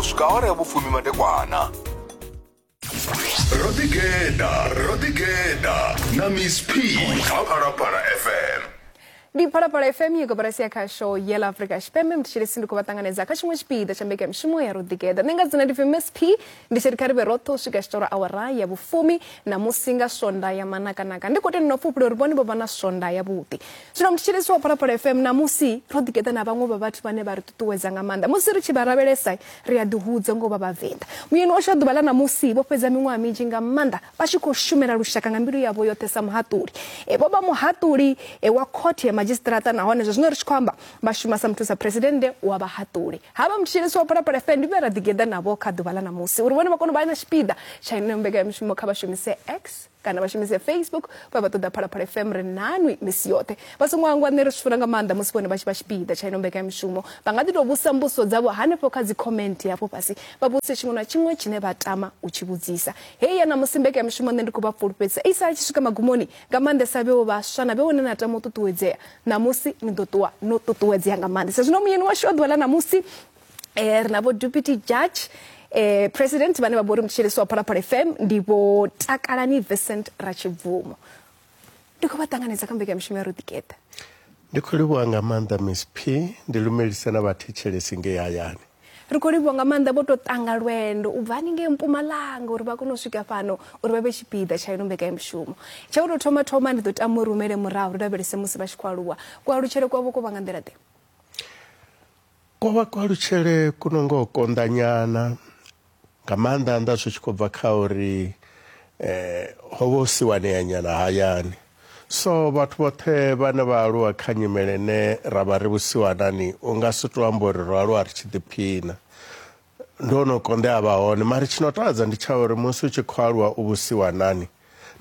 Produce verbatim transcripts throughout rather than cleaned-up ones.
swika awara ya vhufumi madekwana. Rodigeda, Rodigeda na Miss P kha Phalaphala F M. Ndi Phalaphala F M koporasi ya khasho ya ḽa Afrika Tshipembe. Mthetshelesi ndi khou vha ṱanganedza kha tshiṅwe tshipiḓa tsha mbekanyamushumo ya Rodigeda. Nṋe nga dzina ndi pfi Miss P, ndi tshi ri kha ri vhe roṱhe u swika tshitoro awara ya vhufumi na musi nga swonda ya manakanaka. Ndi khou tenda no pfufhula uri vhone vho vha na swonda ya vhuḓi. Zwino mthetshelesi wa Phalaphala F M, namusi Rodigeda na vhaṅwe vha vhathu vhane vha ri ṱuṱuwedza nga maanḓa. Musi ri tshi vha lavhelesa ri a ḓihudza ngo vha vhavenḓa. Muyeni washu wa ḓuvha ḽa namusi vho fhedza miṅwaha minzhi nga maanḓa vha tshi khou shumela lushaka nga mbilu yavho yoṱhe sa muhaṱuli. E, vho vha muhaṱuli e, wa khothe ya magistrata, nahone zwa zwino ri tshi khou amba vha shuma sa muthusa presidennde wa vhahaṱuli. Havha mthetshelesi wa Phalaphala F M ndi vhe ra ḓigeḓa navho kha ḓuvha ḽa namusi uri vhone vha kone u vha na tshipiḓa tsha ino mbekanyamushumo. Kha vha shumise X kana vha shumise Facebook vha vha ṱoḓa Phalaphala F M, ri nanwi misi yoṱhe. Vha songo hangwa, nṋe ri zwi funa nga maanḓa musi vhone vha tshi vha tshipiḓa tsha ino mbekanyamushumo. Vha nga ḓi tou vhusa mbudziso dzavho hanefho kha dzi comment hafho fhasi, vha vhuse tshiṅwe na tshiṅwe tshine vha tama u tshi vhudzisa. Heyi ya namusi mbekanyamushumo nṋe ndi khou vha fulufhedzisa i sala tshi swika magumoni, nga maanḓesa vheo vhaswa na vheo ne na tama u ṱuṱuwedzea, namusi ni ḓo ṱuwa no ṱuṱuwedzea nga maanḓesa. Zwino muyeni washu wa ḓuvha ḽa namusi eh, ri na vho deputy judge eh, president vhane vha vho uri mthetshelesi wa Phalaphala F M ndi vho Takalani Vincent Ratshibvumo. Ndi khou vha ṱanganedza kha mbekanyamushumo ya Rodigeda. Ndi khou livhuwa nga maanḓa Miss P, ndi lumelisa na vhathetshelesi ngei hayani. Ri khou livhuwa nga maanḓa, vho tou tanga lwendo u bva haningei Mpumalanga uri vha kone u swika fhano uri vha vhe tshipiḓa tsha ino mbekanyamushumo. Tsha u tou thoma thoma ndi ḓo tama uri rumele murahu ri lavhelese musi vha tshi khou aluwa. Kualutshele kwavho ko vha nga nḓila ḓe? Ko vha kualutshele ku no ngo konḓa nyana, nga maanḓa anḓa zwi tshi khou bva kha uri eh, ho vha hu siwanea nyana hayani. So vhathu vhoṱhe vhane vha aluwa kha nyimele ine ra vha ri vhusiwanani, u nga si to amba uri ro aluwa ri tshi ḓiphina. Ndo no konḓea vha hone, mara tshino takadza ndi tsha uri musi u tshi khou aluwa u vhusiwanani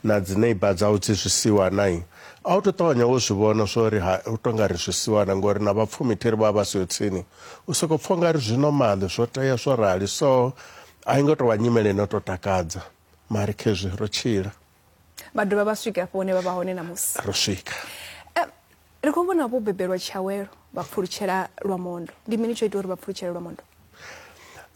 na dzi neighbor dzau dzi zwisiwanai, a u to ṱavhanya wo zwi vhona zwo uri u to nga ri zwisiwana, ngori na vhapfumi thiri vha vha siho tsini, u soko pfha nga ri zwi normal, zwo tea zwo rali. So a i ngo tou vha nyimele ino to takadza, mara khezwi ro tshila. Vha dovha vha swika afho hune vha vha hone namusi. Ro swika. Eh, ri khou vhona vho bebelwa Tshiawelo vha pfulutshela Lwamondo. Ndi mini tsho ita uri vha pfulutshele Lwamondo?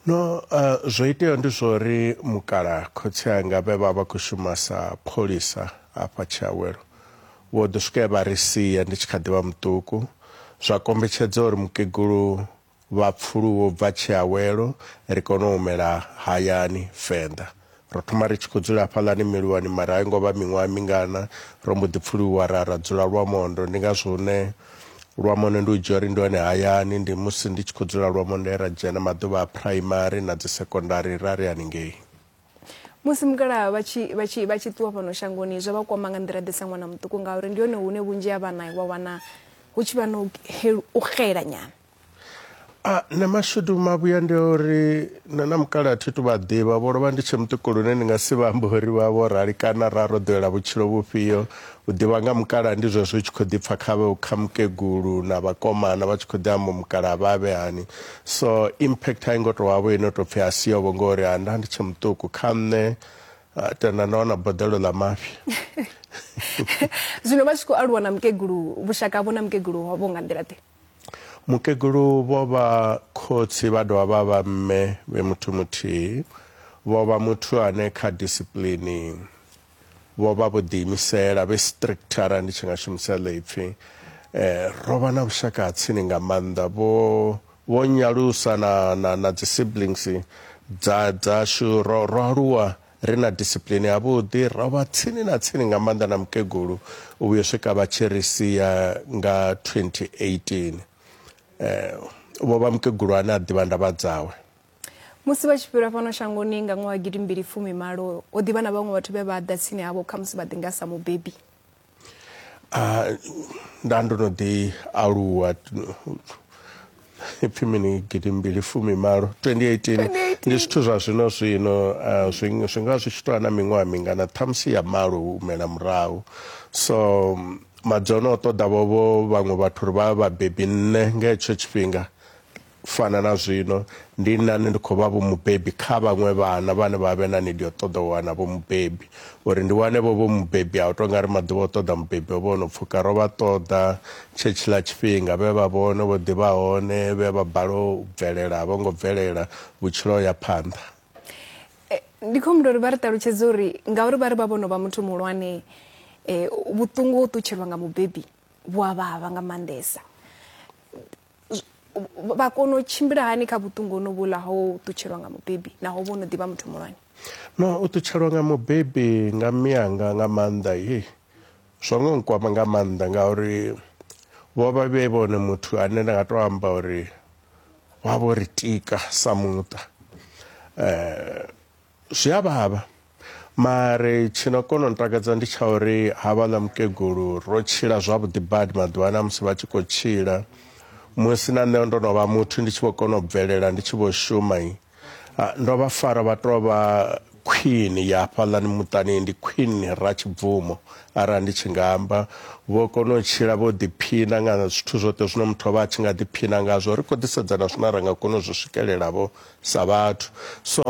No, uh, zwo itea ndi zwo uri mukala khotsi anga vhe vha vha khou shuma sa pholisa hafha Tshiawelo, vho ḓo swika vha ri sia ndi tshi kha ḓi vha muṱuku. Zwa kombetshedza uri mukegulu vha pfuluwe bva Tshiawelo ri kone u humela hayani Venḓa. Ro thoma ri tshi khou dzula hafhaḽani Miluwani, mara a i ngo vha miṅwaha mingana ro mbo ḓi pfuluwa ra ra dzula Lwamondo. Ndi ngazwo hune Lwamondo ndi u dzhia uri ndi hone hayani. Ndi musi ndi tshi khou dzula Lwamondo ra dzhena maḓuvha a primary na dzi secondary ra ri haningei. Musi mukalaha vha tshi vha tshi vha tshi ṱuwa fhano shangoni zwo vha kwama nga nḓila ḓe sa ṅwana muṱuku, ngauri ndi hone hune vhunzhi ha vhana wa wana hu tshi vha no u xela nyana? A nṋe mashudu mavhuya ndi uri nṋe na mukalaha thi tu vha ḓivha, vho lovha ndi tshe muṱuku lune ndi nga si vha ambe uri vha vho rali kana ra ro ḓowela vhutshilo vhufhio. U ḓivha nga mukalaha ndi zwezwo u tshi khou ḓi pfha kha kha mukegulu na vhakomana vha tshi khou ḓi amba mukalaha vha vhe hani. So impact a i ngo tou vha vho ino tou pfhi a siho vho, ngori ha nda ndi tshe muṱuku kha nṋe tenda nda wana boḓelo ḽa mafhi. Zwino vha tshi khou aluwa na mukegulu, vhushaka havho na mukegulu ho nga nḓila ḓe? Mukegulu vho vha khotsi vha dovha vha vha mme vhe muthu muthihi. Vho vha muthu ane kha discipline vho vha vho ḓiimisela, vhe strict arali ndi tshi nga shumisa ḽo ipfhi. Eh, ro vha na vhushaka ha tsini nga maanḓa, vho vho nyalusa na, na, na dzi siblings dza dzashu. Ro, ro aluwa ri na discipline yavhuḓi, ro vha tsini na tsini nga maanḓa na mukegulu u vhuya swika vha tshi ri sia nga twenty eighteen. Eh, vho vha mukegulu ane a ḓivha ndavha dzawe. Musi vha tshi fhira fhano shangoni nga ṅwaha gidi mbili fumi malo, ho ḓivha na vhaṅwe vhathu vhe vha ḓa tsini havho khamusi vha ḓi nga sa mubebi? Ah, nda ndo no ḓi aluwa ipfi mini gidi mbili fumi malo twenty eighteen ndi zwithu zwa zwino zwino zwi zwi nga zwi tshi tou na miṅwaha mingana ṱhamusi ya malo u humela murahu. So madzono o ṱoḓa vho vho vhaṅwe vhathu uri vha vhabebi nṋe nga hetsho tshifhinga fana na zwino ndi nane ndi khou vha vho mubebi kha vhaṅwe vhana vhane vha vhe na need yo ṱoḓa u wana vho mubebi uri ndi wane vho vho mubebi a u tonga ri maḓuvha o ṱoḓa mubebi o vho no pfuka ro vha ṱoḓa tshetshila tshifhinga vhe vha vhone vho ḓivha hone vhe vha bala u bvelela vho ngo bvelela vhutshilo ya phanḓa. Ndi khou humbula uri vha ri ṱalutshedze uri ngauri vha ri vha vhono vha muthu muhulwane eh vhuṱungu ho ṱutshelwa nga mubebi vhu a vhavha nga maanḓesa. Vha kona u tshimbila hani kha vhuṱungu hono vhuḽa ho ṱutshelwa nga mubebi naho vho no ḓivha muthu muhulwane? No, u ṱutshelwa nga mubebi nga miyanga nga maanḓa he zwo ngo nkwama nga maanḓa ngauri vho vha vhe vhone muthu ane nda nga to amba uri wa vho ri tika sa muṱa. Eh zwi a vhavha mare tshino kono ntakadza ndi tsha uri havhaḽa mukegulu ro tshila zwavhuḓi badi maḓuvha musi vha tshi khou tshila musi na nṋe ndo no vha muthu ndi tshi vho kona u bvelela ndi tshi vho shuma ndo vha fara vha tou vha queen ya hafhaḽani muṱani ndi queen Ratshibvumo arali ndi tshi nga amba vho kona u tshila vho ḓiphina nga zwithu zwoṱhe zwine muthu vha tshi nga ḓiphina ngazwo ri khou ḓi sedzana zwine ra nga kona u zwi swikelela vho sa vhathu. So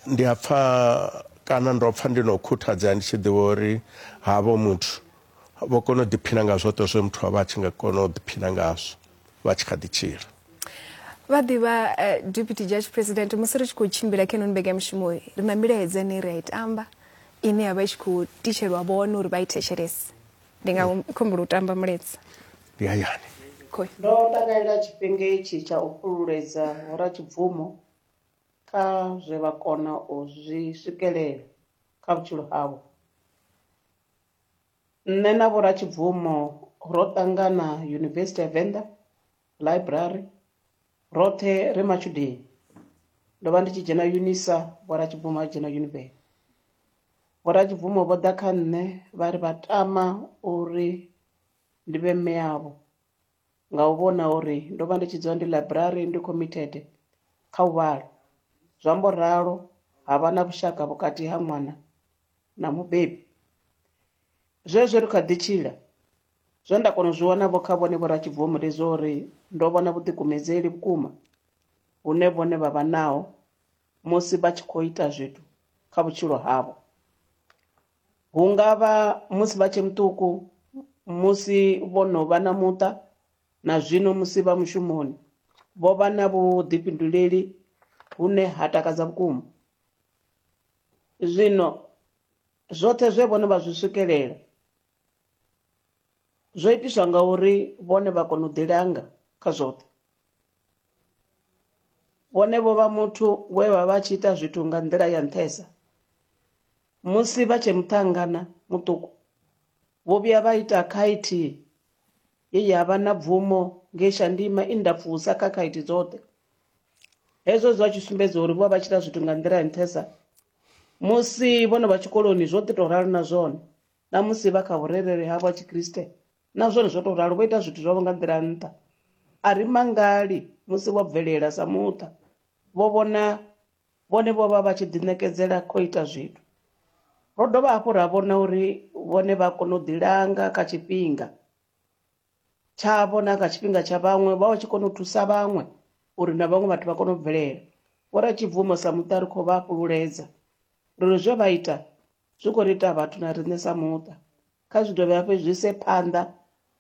ndi a pfa kana ndo pfa ndi no khuthadzea ndi tshi ḓivha uri havho muthu vho kona u ḓiphina nga zwoṱhe zwe muthu a vha tshi nga kona u ḓiphina ngazwo vha tshi kha ḓi tshila. Vha ḓivha uh, Deputy Judge President musi ri tshi khou tshimbila kha ino mbekanyamushumo ri na milaedza ine ri a i tamba ine ya vha i tshi khou titshelwa vhone uri vha i thetshelese. Ndi nga humbula u tamba mulaedza. Ndi hayani. Ndo takalela tshifhinga itshi tsha u fhululedza Vho Ratshibvumo kha zwe vha kona u zwi swikelela kha vhutshilo havho. Nṋe na Vho Ratshibvumo ro ṱangana University ya Venḓa Library roṱhe ri matshudeni. Ndo vha ndi tshi dzhena UNISA, Vho Ratshibvumo vha dzhena Univen. Vho Ratshibvumo vho ḓa kha nṋe vha ri vha tama uri ndi vhe mme avho nga u vhona uri ndo vha ndi tshi dzula ndi library ndi committed kha u vhala. Zwa mbo ralo ha vha na vhushaka vhukati ha ṅwana na mubebi. Zwezwo ri kha ḓi tshila zwe nda kona u zwi wana vho kha vhone Vho Ratshibvumo ndi zwo uri ndo vhona vhuḓikumedzeli vhukuma hune vhone vha vha naho musi vha tshi khou ita zwithu kha vhutshilo havho. Hu nga vha musi vha tshe muṱuku, musi vho no vha na muṱa na zwino musi vha mushumoni vho vha na vhuḓifhinduleli hune ha takadza vhukuma. Zwino zwoṱhe zwe vhone vha zwi swikelela zwo itiswa nga uri vhone vha kona u ḓilanga kha zwoṱhe. Vhone vho vha muthu we vha vha tshi ita zwithu nga nḓila ya nṱhesa. Musi vha tshe muṱhangana muṱuku vho vhuya vha ita khaithi ye ya vha na bvumo ngei Shandima i ndapfusa kha khaithi dzoṱhe. Hezwo zwa tshi sumbedza uri vho vha tshi ita zwithu nga nḓila ya nṱhesa. Musi vhono vha tshikoloni zwo ḓi tou ralo na zwone, na musi vha kha vhurereli havho ha Tshikriste na zwone zwo tou ralo, vho ita zwithu zwavho nga nḓila nṱha. A ri mangali musi vho bvelela sa muṱa vho vhona vhone vho vha vha tshi ḓiṋekedzela kho ita zwithu. Ro dovha hafhu ra vhona uri vhone vha kona u ḓilanga kha tshifhinga tshavho na kha tshifhinga tsha vhaṅwe, vha vha tshi kona u thusa vhaṅwe uri na vhaṅwe vhathu vha kone u bvelela. Vho Ratshibvumo sa muṱa ri khou vha fhululedza uri zwe vha ita zwi khou ri ita vhathu na riṋe sa muṱa. Kha zwi dovhe hafhu zwi ise phanḓa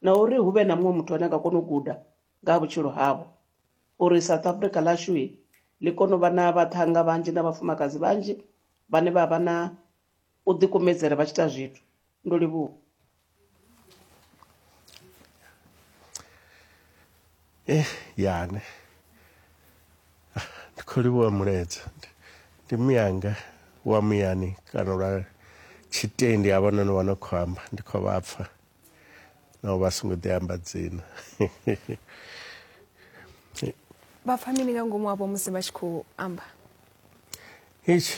na uri hu vhe na muṅwe muthu ane a nga kona u guda nga ha vhutshilo havho uri South Africa ḽashu ḽi kone u vha na vhaṱhannga vhanzhi na vhafumakadzi vhanzhi vhane vha vha na u ḓikumedzela vha tshi ita zwithu. Ndo livhuwa. Eh yane ndi khou livhuwa mulaedza. Ndi miyanga wa muyani kana lwa tshitendi havhanoni vha no khou amba ndi khou vha pfa naho vha songo ḓi amba dzina. Vha pfa mini nga ngomu havho musi vha tshi khou amba? Itshi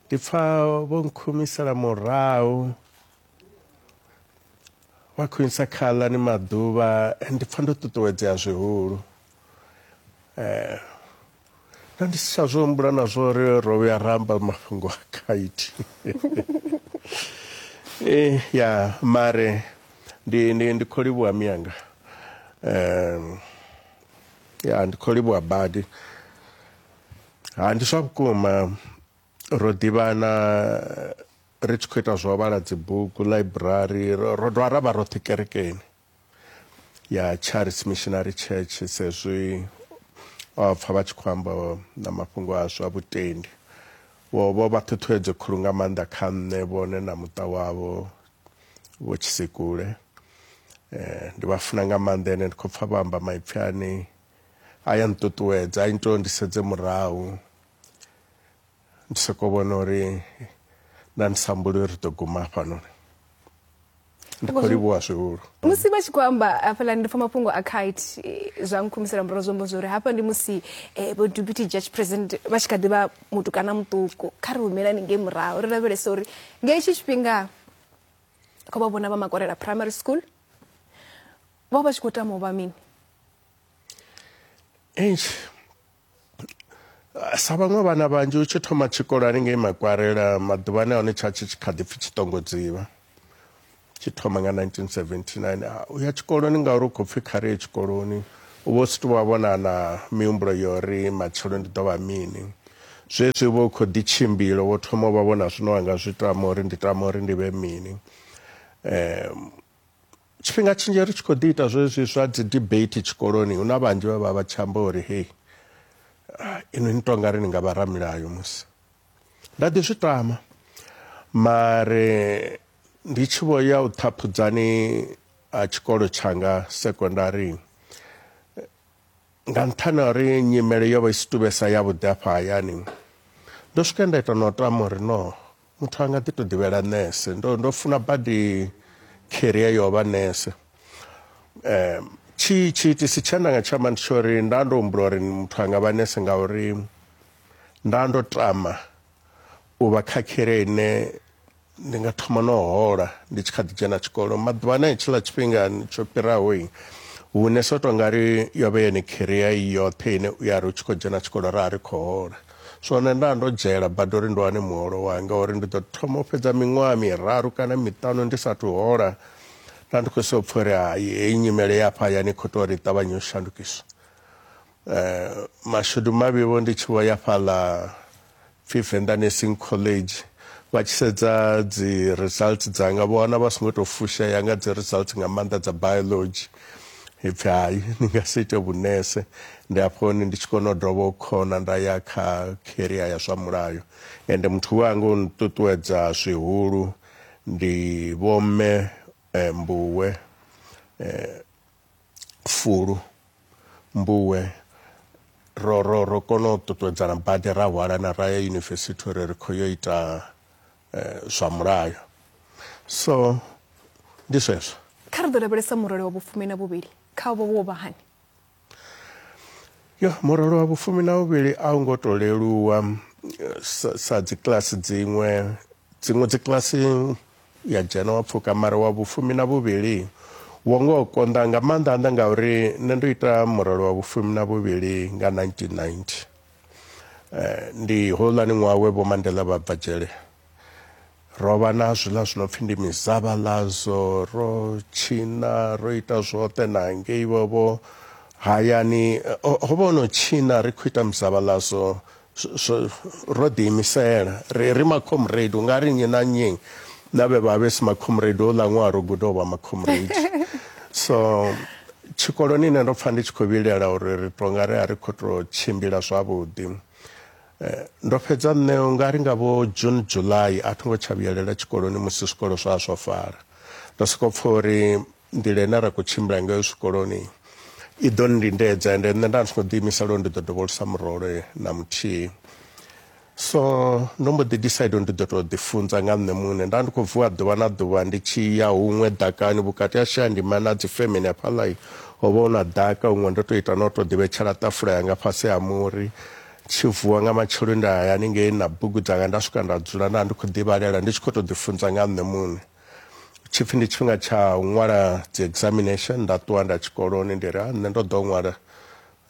ndi pfa vho nkhumisela murahu vha khou isa kha aḽani maḓuvha ndi pfa ndo ṱuṱuwedzea zwihulu. Eh na ndi si tsha zwi humbula na zwo uri ro vhuya ra amba mafhungo a khaithi. Eh ya mare ndi ndi ndi khou livhuwa miyanga. Eh Ya ndi khou livhuwa badi. Ha ndi zwa vhukuma ro ḓivhana ri tshi khou ita zwa u vhala dzibugu library, ro dovha ra vha roṱhe kerekeni ya Charis Missionary Church, sezwi o pfa vha tshi khou amba na mafhungo a zwa vhutendi. Vho vho vha ṱhuṱhuwedzo khulu nga maanḓa kha nṋe, vhone na muṱa wavho vho Tshisikule. Eh, ndi vha funa nga maanḓa, ene ndi khou pfa vha amba maipfi ane a ya nṱuṱuwedza, a ita uri ndi sedze murahu ndi soko vhona uri nda ndi sa humbuli uri ri ḓo guma hafhanoni. Ndi khou livhuwa zwihulu. Musi vha tshi khou amba hafhaḽa ndi pfa mafhungo a kite zwa nkhumisela murahu, zwo amba zwori hafha ndi musi vho deputy judge president vha tshi kha ḓi vha mutukana muṱuku. Kha ri humelani ngei murahu ri lavhelese uri nga hetshi tshifhinga kho vha vhona vha Makwarela Primary School vho vha tshi khou tama u vha mini? Eish, sa vhaṅwe vhana vhanzhi u tshi thoma tshikolo haningei Makwarela maḓuvhani a hone tsha tshi kha ḓi pfi Tshitongodziva, tshi thoma nga nineteen seventy-nine. U ya tshikoloni ngauri u khou pfi kha ri ye tshikoloni, u vho si tou vha vhona na mihumbulo ya uri matshelo ndi ḓo vha mini. Zwezwi vho khou ḓi tshimbila wo thoma u vha vhona zwine wa nga zwi tama uri ndi tama uri ndi vhe mini. Um, tshifhinga tshinzhi ri tshi khou ḓi ita zwezwi zwa dzi debate tshikoloni, hu na vhanzhi vha vha vha tshi amba uri hei inwi ni tonga ri ni nga vha ramilayo musi. Nda ḓi zwi tama, mare ndi tshi vho ya u ṱhaphudzani a tshikolo tshanga sekondari, nga nṱhani ha uri nyimele yo vha i si tuvhesa yavhuḓi afha hayani, ndo swika nda ita na u tama uri no muthu a nga ḓi to ḓivhela nese. Ndo ndo funa badi career yo vha nese. Um, tshi tshiitisi tshe nda nga tshi amba ndi tsho uri nda ndo humbula uri muthu a nga vha nese ngauri nda ndo tama u vha kha career ine ndi nga thoma no hola ndi tshi kha ḓi dzhena tshikolo. Maḓuvhana hetshiḽa tshifhinga tsho fhiraho hune so to ngari yo vha yone career yoṱhe ine u ya ri u tshi khou dzhena tshikolo ra ri khou hola. So nṋe nda ndo dzhela badi uri ndi wane muholo wanga, uri ndi ḓo thoma u fhedza miṅwaha miraru kana miṱanu ndi sathu hola. Nda ndi khou so pfha uri hai heyi nyimele ya hafha hayani khou tou uri i ṱavhanye u shandukiswa. Eh, mashudu mavhi vho ndi tshi vho ya fhaḽa pfi Venḓa Nursing College, vha tshi sedza dzi results dzanga vho wana vha songo tou fushea nga dzi results nga maanḓa dza biology. Ipfi hai ni nga si ite vhunese. Ndi hafho hone ndi tshi kona u dovha u khona nda ya kha career ya zwa mulayo. Ende muthu wanga u nṱuṱuwedza zwihulu ndi vho mme Mbuwe Fulu Mbuwe. Ro ro ro kona u ṱuṱuwedzana badi ra hwalana ra ya yunivesithi uri ri khou yo ita zwa mulayo. So ndi zwezwo. Kha ri ḓo lavhelesa murole wa vhufumi na vhuvhili, kha vho wo vha hani? Yo, murole wa vhufumi na vhuvhili a u ngo to leluwa sa, sa dzi kilasi dziṅwe. Dziṅwe dzi kilasi ya dzhena wa pfuka, mara wa vhufumi na vhuvhili wo ngo konḓa nga maanḓa anḓa ngauri nṋe ndo ita murole wa vhufumi na vhuvhili nga nineteen ninety. Eh, ndi houḽani ṅwaha we vho Mandela vha bva dzhele. Ro vha na zwiḽa zwi no pfi ndi mizavhalazo, ro tshina, ro ita zwoṱhe na ngei vho hayani. Ho vha ho no tshina ri khou ita mizavhalazo, ro ḓiimisela ri ri makhomrade, u nga ri nnyi na nnyi na vhe vha vhe si makhomrade houḽa ṅwaha ro guda u vha makhomrade. So tshikoloni nṋe ndo pfa ndi tshi khou vhilela uri ri to nga ri a ri khou tou tshimbila zwavhuḓi. Ndo fhedza nṋe u nga ri nga vho June July a tho ngo tsha vhuyelela tshikoloni musi zwikolo zwa zwo fara. Ndo soko pfa uri nḓila ine ra khou tshimbila ngayo zwikoloni i ḓo nndindedza, ende nṋe nda ndi songo ḓiimisela uri ndi ḓo dovholosa murole na muthihi. So ndo mbo ḓi decide uri ndi ḓo tou ḓi funza nga nṋe muṋe. Nda ndi khou vuwa ḓuvha na ḓuvha ndi tshi ya huṅwe ḓakani vhukati ha Shayandima na dzi femeni hafhaḽa, ho vha hu na ḓaka huṅwe ndo tou ita na u tou ḓivhetshela ṱafula yanga fhasi ha muri. Tshi vuwa nga matsheloni nda ya haningei na bugu dzanga nda swika nda dzula nda ndi khou ḓivhalela ndi tshi khou tou ḓi funza nga nṋe muṋe. Tshipfi ndi tshifhinga tsha u ṅwala dzi examination, nda ṱuwa nda tshikoloni ndi ri nṋe ndo ḓo ṅwala.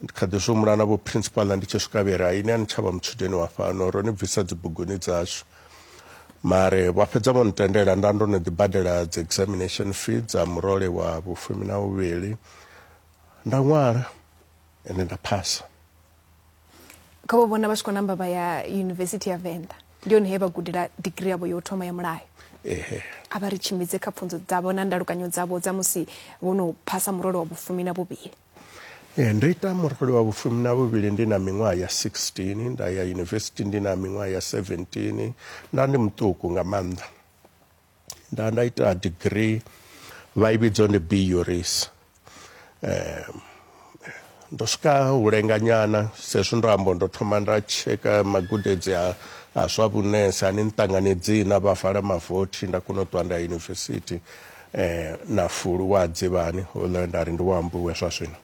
Ndi kha ḓi zwi humbula na vho principal ndi tshi swika vhe ri hai ini a ni tsha vha mutshudeni wa fhano, ro ni bvisa dzi buguni dzashu. Mare vha fhedza vho ntendela, nda ndo no ḓi badela dzi examination fee dza murole wa vhufumi na vhuvhili, nda ṅwala. Ende nda phasa. Kha vho vhona vha tshi khou namba vha ya Yunivesithi ya Venḓa, ndi hone he vha gudela digirii yavho yo thoma ya mulayo. Ehe. A vha ri tshimbidze kha pfunzo dzavho na ndalukanyo dzavho dza musi vho no phasa murole wa vhufumi na vhuvhili. Ee, ndo ita murole wa vhufumi na vhuvhili ndi na miṅwaha ya sixteen, nda ya yunivesithi ndi na miṅwaha ya seventeen, nda ndi muṱuku nga maanḓa. Nda nda ita degree vha i vhidza ndi B Juris. Eh, ndo swika u lenga nyana sezwi ndo amba ndo thoma nda tsheka magudedzi a a zwa vhunese ani nṱanganedzi na vha vala mavothi, nda kona u ṱuwa nda yunivesithi eh, na fulu wa dzivhani houḽa nda ri ndi wa ambiwe zwa zwino.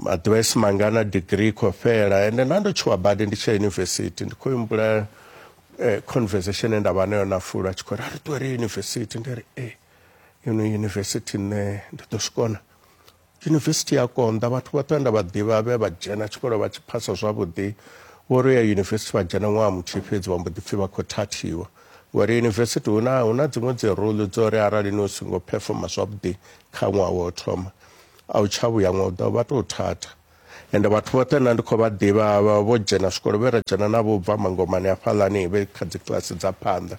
Maḓuvha esi mangana degree khou fhela, ende nda ndo tshuwa badi ndi tsha yunivesithi. Ndi khou humbula eh, conversation ye nda vha nayo na fulu a tshi khou ri a ri ṱuwe ri yunivesithi, ndi ri eh, ino yunivesithi nṋe ndi ḓo zwi kona. Yunivesithi ya konḓa, vhathu vhoṱhe nda vha ḓivha vhe vha dzhena tshikolo vha tshi phasa zwavhuḓi, vho ri ya yunivesithi vha dzhena ṅwaha muthihi fhedzi vha mbo ḓi pfhi vha khou thathiwa. Ngori yunivesithi huna huna dziṅwe dzi rule dzo uri arali ni songo performa zwavhuḓi kha ṅwaha wa u thoma a u tsha vhuya ṅwaha u ḓaho vha tou thatha. Ende vhathu vhoṱhe nṋe ndi khou vha ḓivha vha vho dzhena zwikolo vhe ra dzhena navho bva mangomani hafhaḽani vhe kha dzi kiḽasi dza phanḓa,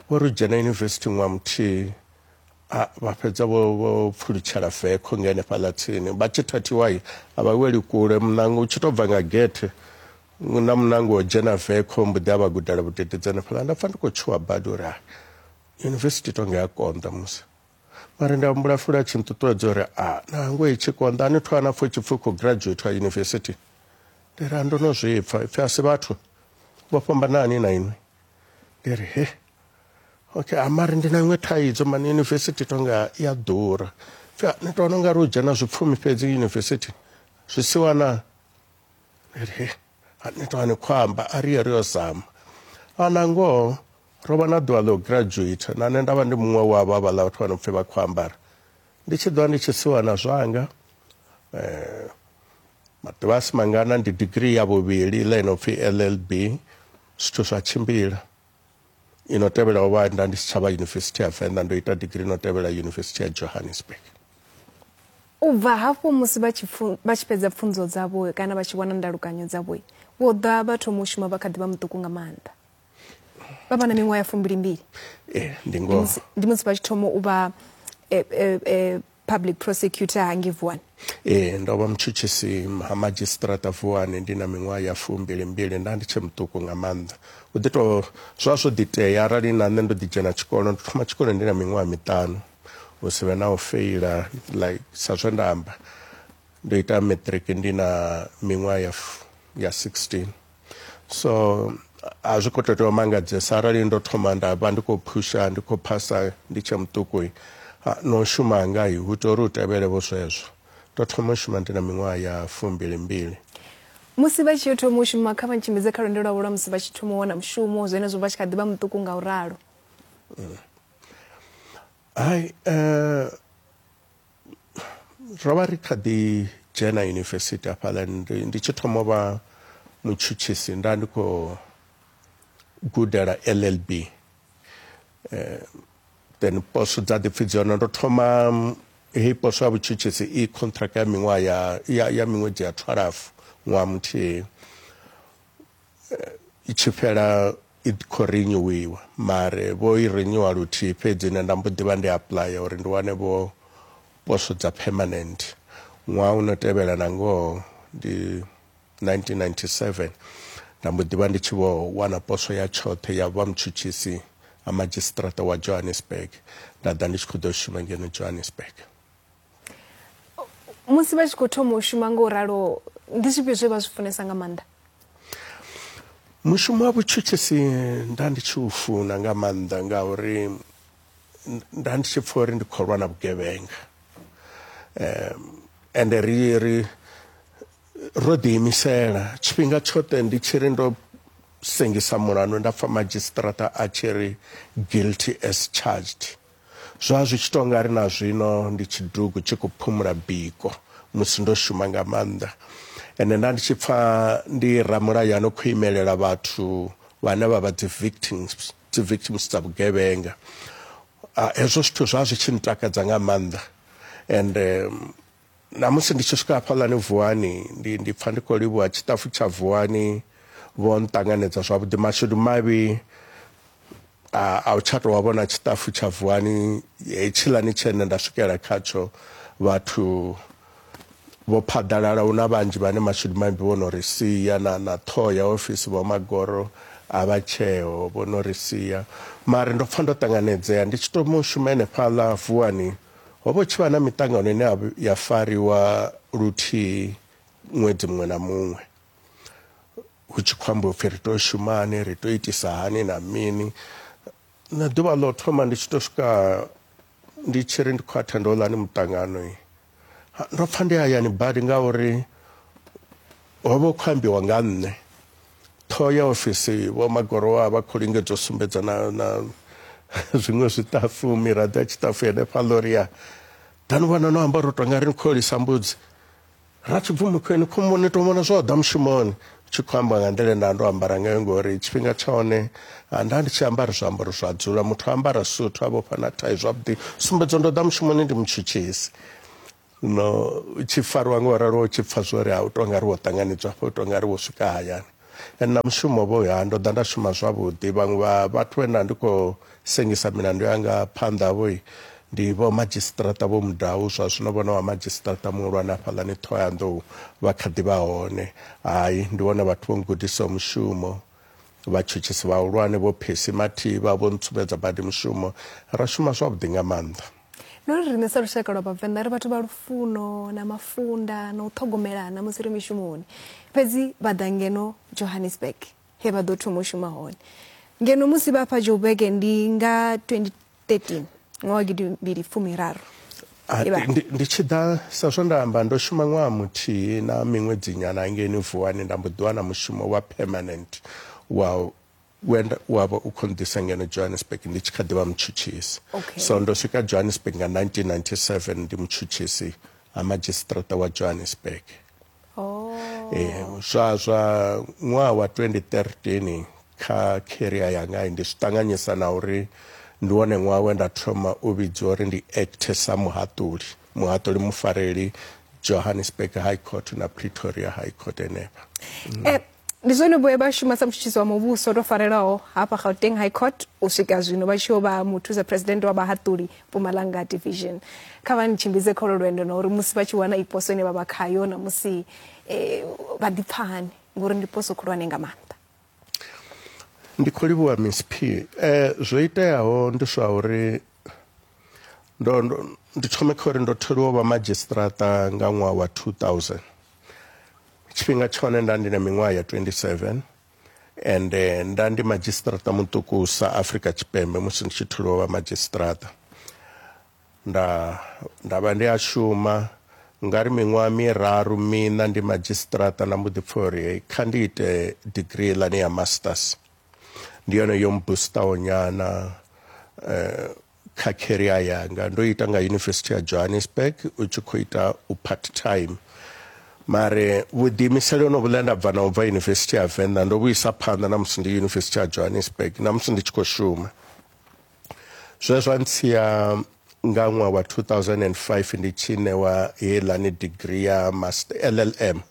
vho ri dzhena yunivesithi ṅwaha muthihi a vha fhedza vho vho pfulutshela vekho nga henefhaḽa tsini. Vha tshi thathiwa a vha weli kule, muṋango u tshi tou bva nga gethe na muṋango wo dzhena vekho mbo ḓi a vha gudela vhudededzi hanefhaḽa. Nda pfha ndi khou tshuwa badi uri yunivesithi tonga ya konḓa musi, mara nda humbula fula tshi nṱuṱuwedza uri a nangwe i tshi konḓa ani thu ana pfha tshi pfhi khou graduate wa yunivesithi. Ndi ri a ndo no zwi pfha, ipfhi a si vhathu vho fhambanani na inwi. Ndi ri he okay, amari ndi na iṅwe thaidzo mani, yunivesithi tonga ya ḓura. Pfhi ni to wana ungari u dzhena zwipfumi fhedzi yunivesithi zwi siwa na. Ndi ri he ni to ani khou amba a ri ye ri yo zama. A na ngoho ro vha na ḓuvha ḽo graduate, na nṋe nda vha ndi muṅwe wavho havhaḽa vhathu vha no pfhi vha khou ambara. Ndi tshi ḓovha ndi tshi siwa na zwanga eh, maḓuvha a si mangana ndi degree ya vhuvhili ḽa ino pfhi L L B, zwithu zwa tshimbila. Ino tevhela ho vha nda ndi si tsha vha Yunivesithi ya Venḓa, ndo ita degree ino tevhela Yunivesithi ya Johannesburg. U bva hafho musi vha tshi vha tshi fhedza pfunzo dzavho kana vha tshi wana ndalukanyo dzavho, vho ḓa vha thoma u shuma vha kha ḓi vha muṱuku nga maanḓa, vha vha na miṅwaha ya fumbili mbili. Eh, ndi ngoho. Ndi musi vha tshi thoma u vha eh, eh, public prosecutor hangei Vuwani. Ee, ndo vha mutshutshisi ha madzhisiṱiraṱa Vuwani ndi na miṅwaha ya fumbili mbili, nda ndi tshe muṱuku nga maanḓa. U ḓi to zwa zwo ḓi tea arali na nṋe ndo ḓi dzhena tshikolo, ndo thoma tshikolo ndi na miṅwaha miṱanu, hu si vhe na u feila like sa zwe nda amba. Ndo ita matric ndi na miṅwaha ya ya sixteen. So a zwi khou tou tea u mangadzesa arali ndo thoma nda vha ndi khou phusha ndi khou phasa ndi tshe muṱuku, no shuma nga hu tea uri u tevhele vho zwezwo. Ndo thoma u shuma ndi na miṅwaha ya fumbili mbili. Musi vha tshi thoma u shuma, kha vha ntshimbidze kha lwendo lwavho lwa musi vha tshi thoma u wana mushumo, zwenezwo vha tshi kha ḓi vha muṱuku nga u ralo. Hai, eh, ro vha ri kha ḓi dzhena yunivesithi hafhaḽa, ndi tshi thoma u vha mutshutshisi nda ndi khou gudela L L B. Eh, then poso dza ḓi pfhi dzi hone, ndo thoma heyi poso ya vhutshutshisi i contract ya miṅwaha ya ya, ya miṅwedzi ya twelve, ṅwaha muthihi, i tshi fhela i khou renewiwa, mare vho i renewa luthihi fhedzi, nṋe nda mbo ḓi vha ndi apply uri ndi wane vho poso dza permanent. Ṅwaha uno tevhela na ngoho ndi nineteen ninety-seven, nda mbo ḓi vha ndi tshi vho wana poso ya tshoṱhe ya vha mutshutshisi ha madzhisiṱiraṱa wa Johannesburg, nda ḓa ndi tshi khou ḓo shuma ngeno Johannesburg. Musi vha tshi khou thoma u shuma nga u ralo, ndi zwifhio zwe vha zwi funesa nga maanḓa? Mushumo wa vhutshutshisi nda ndi tshi u funa nga maanḓa ngauri nda ndi tshi pfha uri ndi khou lwa na vhugevhenga. Um, ende ri ri ro ḓiimisela tshifhinga tshoṱhe ndi tshi ri ndo sengisa mulandu nda pfha madzhisiṱiraṱa a tshi ri guilty as charged. Zwa zwi tshi tou nga ri na zwino ndi tshidugu tshi khou phumula biko musi ndo shuma nga maanḓa. Ende nda ndi tshi pfha ndi ramulayo ano khou imelela vhathu vhane vha vha dzi victims, dzi victims dza vhugevhenga. Hezwo zwithu zwa zwi tshi ntakadza nga maanḓa. And um, Na musi ndi tshi swika hafhaḽani Vuwani ndi ndi pfa ndi khou livhuwa tshiṱafu tsha Vuwani vho nṱanganedza zwavhuḓi. Mashudu mavhi a a u tsha tou wa vhona tshiṱafu tsha Vuwani hetshiḽani tshene nda swikela khatsho, vhathu vho phaḓalala, hu na vhanzhi vhane mashudu mavhi vho no ri sia, na na ṱhoho ya ofisi vho Magoro a vha tsheo vho no ri sia. Mara ndo pfa ndo ṱanganedzea ndi tshi to shuma henefhaḽa Vuwani. Ho vha tshi vha na miṱangano ine ya fariwa luthihi ṅwedzi muṅwe na muṅwe, hu tshi khou ambiwa upfhi ri tea u shuma hani, ri tea u itisa hani na mini. Na ḓuvha ḽo thoma ndi tshi to swika ndi tshi ri ndi khou athenda houḽani muṱangano, ndo pfa ndi hayani badi ngauri ho vha hu khou ambiwa nga nṋe. Ṱhoho ya ofisi vho Magoro vha vha khou lingedza u sumbedza na na zwiṅwe zwiṱafu, miraḓo ya tshiṱafu henefhaḽa uri ya ḓani vhona no amba uri tonga ri ni khou lisa mbudzi ra tshibvumo khweni khombo ni to vhona zwo ḓa mushumoni. Tshi khou amba nga nḓila nda ndo ambara ngayo ngori tshifhinga tsha hone nda ndi tshi ambara zwiambaro zwa dzula, muthu ambara suthu a vhofha na thai zwavhuḓi, sumbedza ndo ḓa mushumoni ndi mutshutshisi. No tshi farwa ngo ralo u tshi pfa zwori a u tonga ri wo ṱanganedzwa afho, u tonga ri wo swika hayani. And na mushumo vho ya ndo ḓa nda shuma zwavhuḓi. Vhaṅwe vha vhathu vhe nda ndi khou sengisa milandu yanga phanḓa vho ndi vho madzhisiṱiraṱa vho Mudau, zwa zwino vhona wa madzhisiṱiraṱa muhulwane hafhaḽani Ṱhohoyanḓou vha kha ḓi vha hone. Hai, ndi vhone vhathu vho ngudisaho mushumo, vhatshutshisi vhahulwane vho Phesi Mathivha vho ntsumbedza badi mushumo, ra shuma zwavhuḓi nga maanḓa. No ri riṋe sa lushaka lwa Vhavenḓa ri vhathu vha lufuno na mafunda na u ṱhogomelana musi ri mishumoni, fhedzi vha ḓa ngeno Johannesburg he vha ḓo thoma u shuma hone. Ngeno musi vha fha Joburg ndi nga twenty thirteen, ṅwaha wa gidimbili fumiraru. Ndi tshi ḓa sa zwo nda amba ndo shuma ṅwaha muthihi na miṅwedzi nyana ngeni Vuwani, nda mbo ḓi wana mushumo wa permanent wa wa vha u khou nḓisa ngeno Johannesburg ndi tshi kha ḓi vha mutshutshisi. So ndo swika Johannesburg nga nineteen ninety-seven ndi mutshutshisi ha madzhisiṱiraṱa wa Johannesburg. Eh zwa zwa ṅwaha wa twenty thirteen kha career yanga ndi zwi ṱanganyisa na uri ndi wone ṅwaha we nda thoma u vhidziwa uri ndi acte sa muhaṱuli, muhaṱuli mufareli Johannesburg High Court na Pretoria High Court henefha. Eh ndi zwone vho vha shuma sa mutshutshisi wa muvhuso to farelaho hafha Gauteng High Court u swika zwino vha tshi yo vha muthusa president wa vhahaṱuli Mpumalanga Division. Kha vha ntshimbidze kholo lwendo na uri musi vha tshi wana iposo ine vha vha khayo na musi vha ḓipfa hani, ngori ndi poso khulwane nga maanḓa. Ndi khou livhuwa Miss P. Eh zwo iteaho ndi zwa uri ndo ndi thome kha uri ndo tholiwa vha madzhisiṱiraṱa nga ṅwaha wa two thousand. Tshifhinga tshone nda ndi na miṅwaha ya twenty-seven and nda ndi madzhisiṱiraṱa muṱukusa Afrika Tshipembe musi ndi tshi tholiwa vha madzhisiṱiraṱa. Nda nda vha ndi a shuma ngari miṅwaha miraru miṋa ndi madzhisiṱiraṱa, nda mbo ḓi pfa uri kha ndi ite degree ḽani ya masters. Ndi yone yo mbustaho nyana eh, kha career yanga. Ndo ita nga University ya Johannesburg u tshi khou ita u part time. Mare vhuḓiimiseli hono vhuḽa nda bva na u bva University ya Venḓa ndo vhuisa phanḓa na musi ndi University ya Johannesburg na musi ndi tshi khou shuma. Zwe zwa ntsia nga ṅwaha wa two thousand and five ndi tshi ṋewa heiḽani degree ya master L L M.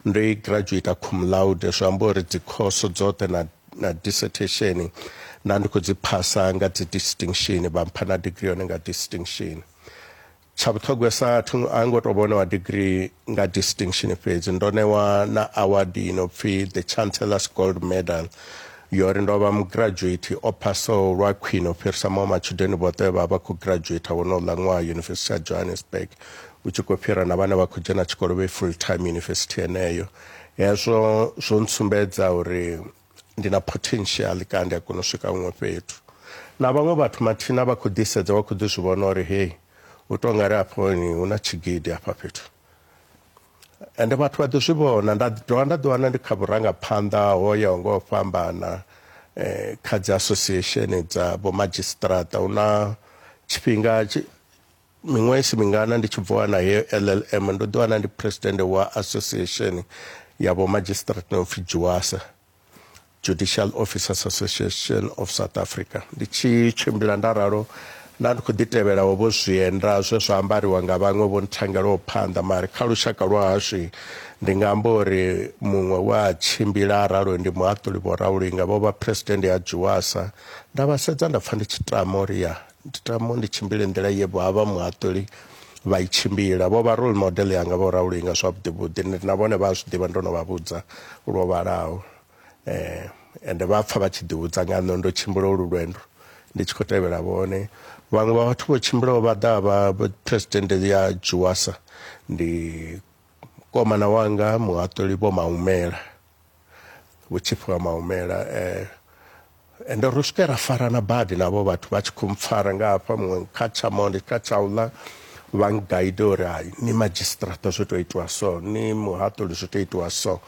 Ndo i graduate cum laude, zwi amba uri dzi course dzoṱhe na na dissertation nda ndi khou dzi phasa nga dzi distinction, vha mpha na degree yone nga distinction. Tsha vhuṱhogwesa a ngo to vhonewa degree nga distinction fhedzi, ndo ṋewa na award ino pfi the Chancellor's Gold Medal yori ndo vha mugraduate o phasaho lwa khwine u fhirisa maṅwe matshudeni vhoṱhe vha vha khou graduate wonouḽa ṅwaha University ya Johannesburg, u tshi khou fhira na vhane vha khou dzhena tshikolo vhe full time university yeneyo. Hezwo zwo ntsumbedza uri ndi na potential kana ndi a kona u swika huṅwe fhethu. Na vhaṅwe vhathu mathina vha khou ḓisedza vha khou ḓi zwi vhona uri hei u tou nga ri afhoni hu na tshigidi hafha fhethu, ende vhathu vha ḓi zwi vhona. Nda dovha nda ḓiwana ndi kha vhurangaphanḓa ho yaho nga u fhambana eh, kha dzi association dza vho madzhisiṱiraṱa. Hu na tshifhinga miṅwaha isi mingana ndi tshi bva wana heyo L L M ndo ḓiwana ndi president wa association ya vho madzhisiṱiraṱa no pfi JUASA, Judicial Officers Association of South Africa. Ndi tshi tshimbila nda ralo Nda ndi khou ḓi tevhela vho zwienda zwe zwa ambariwa nga vhaṅwe vho nthangelaho phanḓa, mara kha lushaka lwa hashu ndi nga amba uri muṅwe wa tshimbila aralo ndi muhaṱuli Vho Raulinga, vho vha president ya Juwasa. Nda vha sedza nda pfa ndi tshi tama uri ya ndi tama ndi tshimbile nḓila ye vha vha muhaṱuli vha i tshimbila. Vho vha role model yanga Vho Raulinga zwavhuḓi vhuḓi, na vhone vha zwi ḓivha ndo no vha vhudza lwo vhalaho, eh ende vha pfa vha tshi ḓivhudza nga nṋe ndo tshimbila ulu lwendo ndi tshi khou tevhela vhone. Vhaṅwe vha vhathu vho tshimbilaho vha ḓa vha president ya Juwasa ndi komana wanga muhaṱuli Vho Maumela, Vho Tshifhiwa Maumela, eh ende ro swika ra farana badi navho vhathu vha tshi khou mpfara nga hafha, muṅwe kha tshamonde kha tshaula vha ngaide uri hai ni magistrata zwo tou itiwa so, ni muhaṱuli zwo tou itiwa so.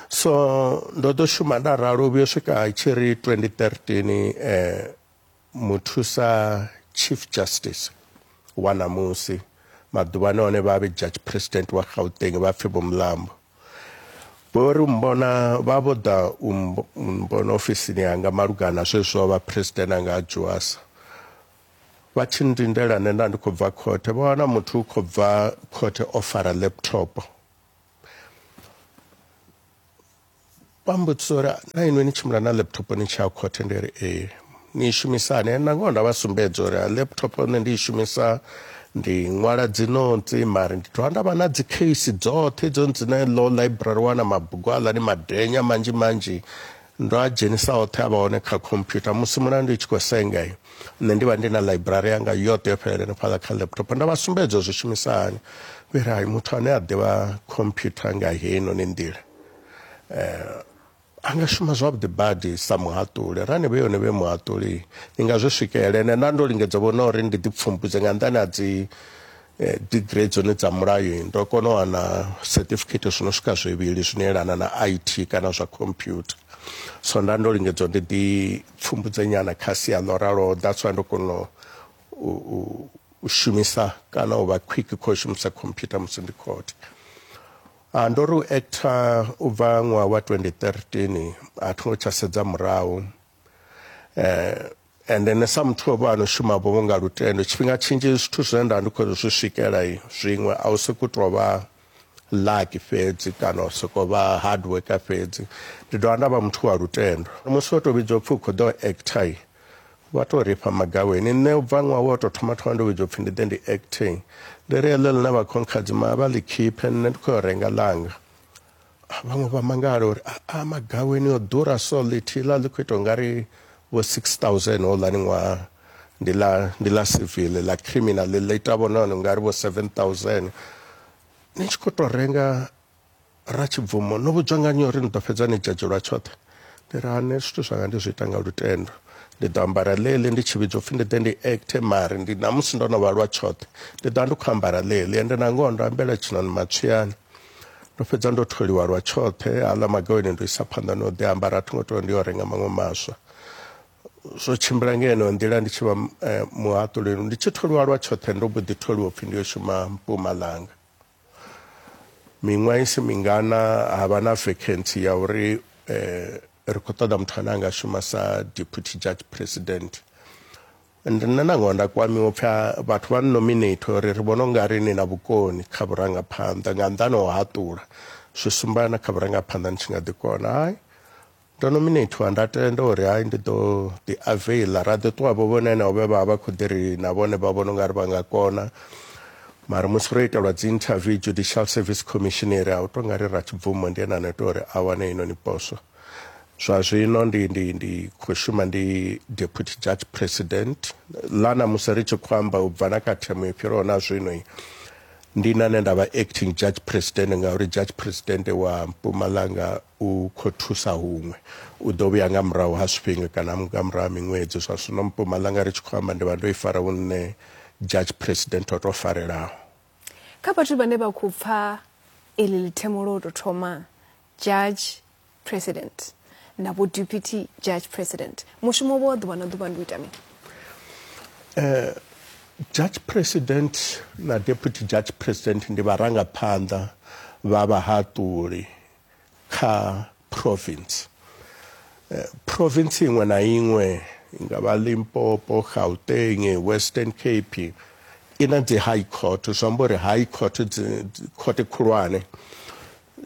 So ndo ḓo shuma nda ralo vhuyo swika tshi ri twenty thirteen eh muthusa Chief Justice wa ṋamusi maḓuvhani one vha vhe Judge President wa Gauteng vha pfi Vho Mlambo. Vho ri mbona vha vho ḓa u mbona ofisini yanga malugana zwezwo vha president anga Juwasa. Vha tshi ndindela nṋe nda ndi khou bva khothe, vha wana muthu u khou bva khothe o fara laptop. Vha mbudzisa uri na inwi ni tshimbila na laptop ni tshi ya khothe, ndi ri ee. Ni shumisane na ngoho nda vha sumbedza uri laptop nṋe ndi i shumisa ndi ṅwala dzi notsi, mara ndi dovha nda vha na dzi case dzoṱhe dzo dzine law library wana mabugu aḽani madenya manzhi manzhi ndo a dzhenisa oṱhe a vha hone kha computer. Musi mulandu i tshi khou senga nṋe ndi vha ndi na library yanga yoṱhe yo fhelela hanefhaḽa kha laptop. Nda vha sumbedza zwi shumisa hani, vha ri hai muthu ane a ḓivha computer nga heinoni nḓila eh a nga shuma zwavhuḓi badi sa muhaṱuli. Rani vhe yone vhe muhaṱuli ni nga zwi swikelela. Ende nda ndo lingedza vhona uri ndi ḓi pfumbudze nga nḓani ha dzi degree dzone dza mulayo, ndo kona u wana certificate zwino swika zwivhili zwine yelana na I T kana zwa computer. So nda ndo lingedza ndi ḓi pfumbudze nyana kha sia ḽo ralo, that's why ndo kona u u shumisa kana u vha quick kho shumisa computer musi ndi court. A ndo ri u actor u bva ṅwaha wa twenty thirteen a thi ngo tsha sedza murahu, eh ende nṋe sa muthu o vha ano shuma vho nga lutendo tshifhinga tshinzhi zwithu zwine nda ndi khou zwi swikela zwiṅwe a u sokou tou vha lucky fhedzi kana u sokou vha hard worker fhedzi, ndi dovha nda vha muthu wa lutendo. Musi wo tou vhidzwa upfhi u khou ḓo actor vha tou rifha magaweni. Nṋe u bva ṅwaha wo tou thoma thoma ndo vhidzwa upfhi ndi ḓe ndi acting, ndi ri heḽo ḽine vha khonkhadzima vha ḽi khiphe nṋe ndi khou yo renga ḽanga. Vhaṅwe vha mangala uri a magaweni o ḓura so ḽithihi ḽa ḽi khou ita ungari vho six thousand houḽani ṅwaha ndi ḽa ndi ḽa civil, ḽa criminal ḽi ita vho nahone ungari vho seven thousand. Ni tshi khou tou renga Ratshibvumo no vhudzwa nga nnyi uri ni ḓo fhedza ni dzhadzhi lwa tshoṱhe? Ndi ri nṋe zwithu zwanga ndi zwi ita nga lutendo, ndi ḓo ambara ḽeḽi ndi tshi vhidzwa upfhi ndi ḓe ndi acte, mara ndi namusi ndo no vha lwa tshoṱhe ndi ḓo vha ndi khou ambara ḽeḽi. Ende na ngoho ndo ambela tshinoni matswiani, ndo fhedza ndo tholiwa lwa tshoṱhe. Haḽa magaweni ndo isa phanḓa no ḓi ambara, a thi ngo tou ndi yo renga maṅwe maswa. Zwo tshimbila nga yeneyo nḓila ndi tshi vha muhaṱuli, ndi tshi tholiwa lwa tshoṱhe ndo mbo ḓi tholiwa upfhi ndi yo shuma Mpumalanga. Miṅwaha isi mingana ha vha na vacancy ya uri eh, ri khou ṱoḓa muthu ane a nga shuma sa deputy judge president. Ende nṋe na ngoho nda kwamiwa upfhi vhathu vha nominate uri ri vhona ungari ni na vhukoni kha vhurangaphanḓa nga nnḓani ho haṱula, zwi sumba na kha vhurangaphanḓa ni tshi nga ḓi kona. Hai, ndo nominatiwa nda tenda uri hai ndi ḓo ḓi availa, ra ḓi ṱuwa vho vhone henevho vhe vha vha khou ḓi ri na vhone vha vhona ungari vha nga kona. Mara musi ro itelwa dzi interview Judicial Service Commission ri a u tou nga ri Ratshibvumo ndi ene ane tea uri a wane heinoni poswo. Zwa zwino ndi ndi ndi khou shuma ndi deputy judge president. Ḽa ṋamusi ri tshi khou amba u bva na kha themo yo fhiraho na zwino ndi nane nda vha acting judge president, ngauri judge president wa Mpumalanga u khou thusa huṅwe, u ḓo vhuya nga murahu ha zwifhinga kana nga murahu ha miṅwedzi. Zwa zwino Mpumalanga ri tshi khou amba ndi vha ndo i fara hu nṋe judge president o tou farelaho. Kha vhathu vhane vha khou pfa iḽi ḽithemo lwo tou thoma judge president na vho deputy judge president, mushumo wa ḓuvha na ḓuvha ndi u ita mini? Eh, judge president na deputy judge president ndi vharangaphanḓa vha vhahaṱuli kha province. Eh, province iṅwe na iṅwe I nga vha Limpopo, Gauteng, Western Cape, i na dzi high court. Zwi amba uri high court dzi court khulwane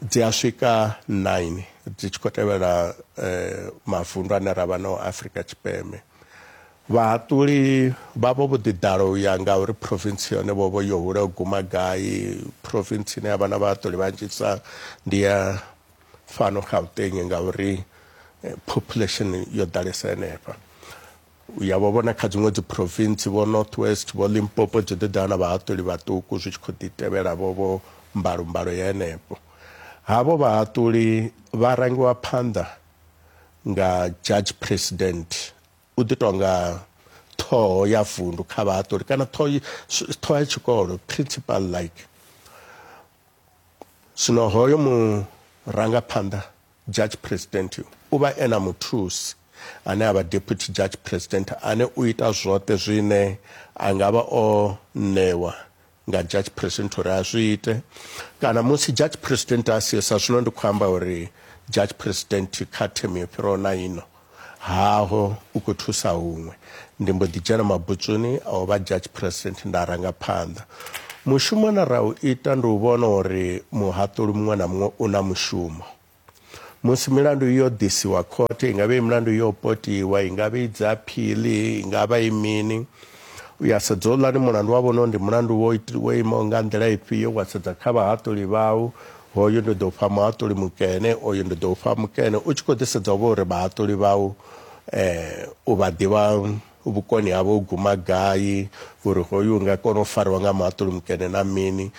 dzi a swika nine dzi tshi khou tevhela eh, mavundu ane ra vha nao Afrika Tshipembe. Vhahaṱuli vhavho vho ḓi ḓala u ya nga uri province yone vho vho yo hula u guma gai. Province ine ya vha na vhahaṱuli vhanzhisa ndi ya fhano Gauteng ngauri population yo ḓalesa henefha. U ya vho vhona kha dziṅwe dzi province vho North West, vho Limpopo dzi ḓi ḓala na vhahaṱuli vhaṱuku zwi tshi khou ḓi tevhela vho vho mbalombalo ya henefho. Havho vhahaṱuli vha rangiwa phanḓa nga judge president, u ḓi tonga ṱhoho ya vundu kha vhahaṱuli kana ṱhoho ya tshikolo, principal like. Zwino hoyo murangaphanḓa judge president u vha e na muthusi ane a vha deputy judge president, ane u ita zwoṱhe zwine a nga vha o ṋewa nga judge president uri a zwi ite. Kana musi judge president a siho, sa zwino ndi khou amba uri judge president kha term yo fhiraho na ino haho u khou thusa huṅwe, ndi mbo ḓi dzhena mabutsoni a u vha judge president nda ranga phanḓa. Mushumo na ra u ita ndi u vhona uri muhaṱuli muṅwe na muṅwe u na mushumo. Musi milandu yo ḓisiwa khothe, i nga vha i milandu yo potiwa, i nga vha i dzi appeal, i nga vha i mini, u ya sedza houḽani mulandu wa vhona ndi mulandu wo wo imaho nga nḓila ifhio, wa sedza kha vhahaṱuli vhau, hoyu ndi ḓo fha muhaṱuli mukene, oyu ndi ḓo fha mukene, u tshi khou ḓi sedza vho uri vhahaṱuli vhau eh, u vha ḓivha vhukoni havho u guma gai, uri hoyu u nga kona u fariwa nga muhaṱuli mukene na mini.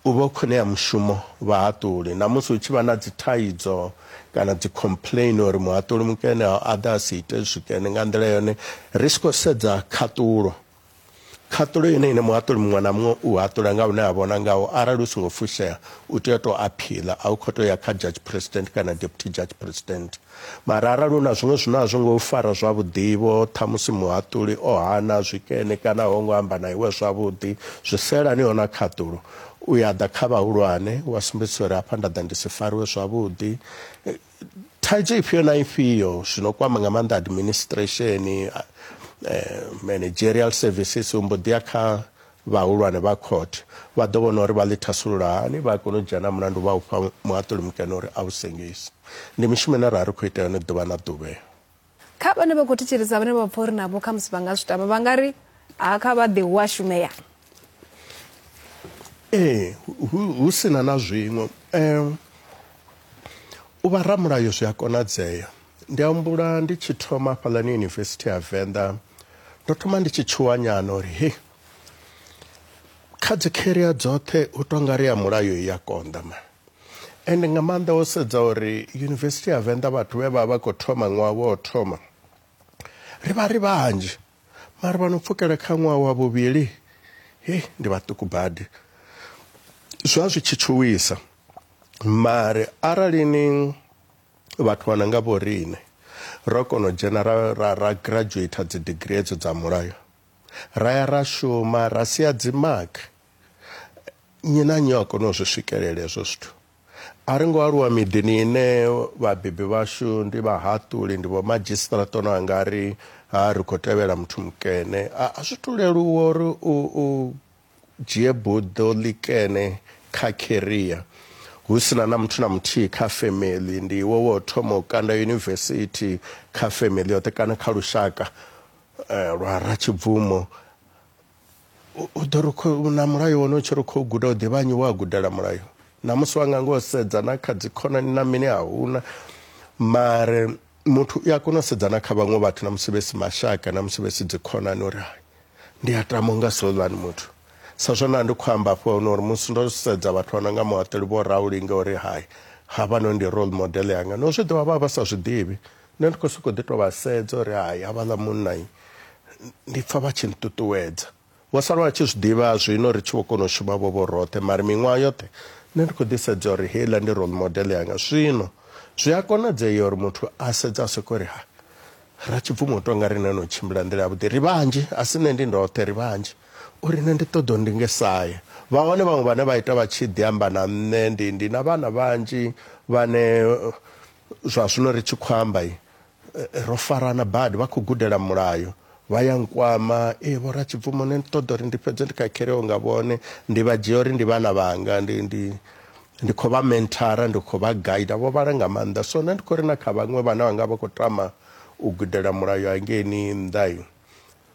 U vha u khou ṋea mushumo vhahaṱuli. Na musi hu tshi vha na dzi thaidzo kana dzi complain uri muhaṱuli mukene a ḓa a si ite zwikene nga nḓila yone, ri si khou sedza khaṱulo. Khaṱulo ine ine muhaṱuli muṅwe na muṅwe u haṱula nga hune a vhona ngaho, arali u songo fushea u tea u tou appeal, a u khou tou ya kha judge president kana deputy judge president. Mara arali hu na zwiṅwe zwine a zwo ngo fara zwavhuḓi vho, ṱhamusi muhaṱuli o hana zwikene kana ho ngo amba na iwe zwavhuḓi, zwi selaniho na khaṱulo, u ya ḓa kha vhahulwane wa sumbedzisa uri hafha nda ḓa ndi si fariwe zwavhuḓi. Thaidzo ifhio na ifhio zwino kwama nga maanḓa administration, eh, managerial services, u mbo ḓi ya kha vhahulwane vha court, vha ḓo vhona uri vha ḽi thasulula hani, vha kona u dzhena mulandu vha u fha muhaṱuli mukene uri a u sengise. Ndi mishumo ine ra ri khou ita yone ḓuvha na ḓuvha. Kha vhane vha khou thetshelesa, vhane vha pfa uri navho khamusi vha nga zwi tama, vha nga ri ha kha vha ḓi hu a shumea. Ee, hu sina na zwiṅwe um, u vha ramulayo zwi a konadzea. Ndi humbula ndi tshi thoma fhaḽani Yunivesithi ya Venḓa, ndo thoma ndi tshi tshuwa nyana uri he kha dzi career dzoṱhe hu tonga ri ya mulayo i ya konḓa ma. Ende nga maanḓa wo sedza uri Yunivesithi ya Venḓa vhathu vhe vha vha khou thoma ṅwaha wo thoma ri vha ri vhanzhi, mara vha no pfukela kha ṅwaha wa vhuvhili he ndi vhaṱuku badi. Zwa zwi tshi tshuwisa, mare arali ni vhathu vha nanga vho riṋe ro kona u dzhena ra, ra, ra graduate dzi degree edzo dza mulayo, ra ya ra shuma ra sia dzi mark, nnyi na nnyi a kona u zwi swikelela hezwo zwithu. A ri ngo aluwa miḓini ine vhabebi vhashu ndi vhahaṱuli, ndi vho madzhisiṱiraṱa ono anga ri ha ri khou tevhela muthu mukene. A zwi tu leluwa uri u, u dzhie buḓo ḽikene kha career hu sina na muthu na muthihi kha family, ndi iwe wo thoma u kanda yunivesithi kha family yoṱhe kana kha lushaka eh, lwa Ratshibvumo. U ḓo ri na mulayo wone u tshi ri khou guda u ḓivha nnyi wa gudela mulayo, na musi wanga ngo sedza na kha dzi khonani na mini a huna, mare muthu u a kona u sedza na kha vhaṅwe vhathu na musi vhe si mashaka na musi vhe si dzi khonani uri ndi a tama unga souḽani muthu. Sa zwone ndi khou amba hafho uri musi ndo sedza vhathu vha no nga muhaṱuli vho Raulinga uri hai havha ndi role model yanga, no zwi ḓivha vha vha sa zwi ḓivhi, nṋe ndi khou sokou ḓi tou vha sedza uri hai havhaḽa munna ndi pfha vha tshi nṱuṱuwedza. Vho sala vha tshi zwi ḓivha zwino ri tshi vho kona u shuma vho vho roṱhe, mara miṅwaha yoṱhe nṋe ndi khou ḓi sedza uri heiḽa ndi role model yanga. Zwino zwi a konadzea uri muthu a sedza a soko ri ha Ratshibvumo tonga riṋe no tshimbila nḓila yavhuḓi, ri vhanzhi, a si nṋe ndi ndoṱhe, ri vhanzhi, uri nṋe ndi ṱoḓa ndi nge saya. Vha hone vhaṅwe vhane vha ita vha tshi ḓi amba na nṋe, ndi ndi na vhana vhanzhi vhane zwa zwino ri tshi khou amba ro farana badi vha khou gudela mulayo vha ya nkwama e vho Ratshibvumo nṋe ndi ṱoḓa uri ndi fhedze ndi khakheleo nga vhone ndi vha dzhia uri ndi vhana vhanga ndi ndi ndi khou vha mentora ndi khou vha guide vho vhala nga maanḓa. So nṋe ndi khou ri na kha vhaṅwe vhana vhanga vha khou tama u gudela mulayo hangeini nnḓa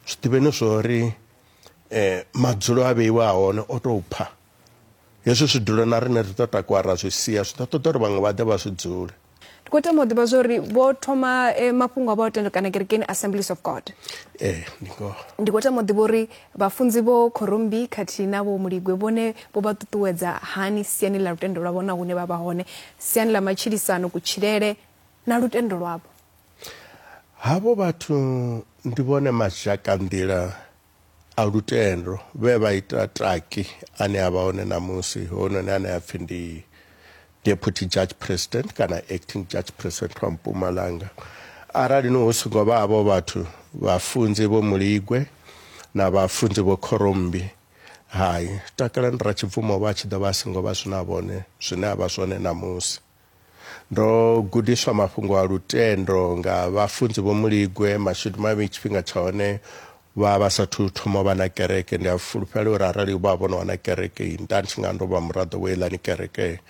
zwi ḓivheni zwori eh madzulo a vheiwa hone o tou pha hezwi zwidulo na riṋe ri ḓo takuwa ra zwi sia zwi ḓo ṱoḓa uri vhaṅwe vha ḓe vha zwi dzule. Ndi khou tama u ḓivha zwa uri vho thoma eh, mafhungo a vha o tendo kana kerekeni Assemblies of God. Eh, ndi ngoho. Ndi khou tama u ḓivha uri vhafunzi vho Khorombi khathihi na vho Muligwe vhone vho vha ṱuṱuwedza hani siani ḽa lutendo lwavho na hune vha vha hone, siani ḽa matshilisano, kutshilele na lutendo lwavho. Havho vhathu ndi vhone mazhakanḓila a lutendo vhe vha ita taki ane a vha hone ṋamusi, hononi ane a pfhi ndi Deputy Judge President kana Acting Judge President wa Mpumalanga. Arali no hu songo vha havho vhathu vhafunzi vho Muligwe na vhafunzi vho Khorombi, hai Takalani Ratshibvumo vha tshi ḓo vha songo vha zwina vhone zwine a vha zwone ṋamusi. Ndo gudiswa mafhungo a lutendo nga vhafunzi vho Muligwe, mashudu mavhi tshifhinga tsha hone vha vha sathu thoma vha na kereke. Ndi a fulufhela uri arali vha vhono wana kereke nda ndi tshi nga ndo vha muraḓo wa eiḽani kereke,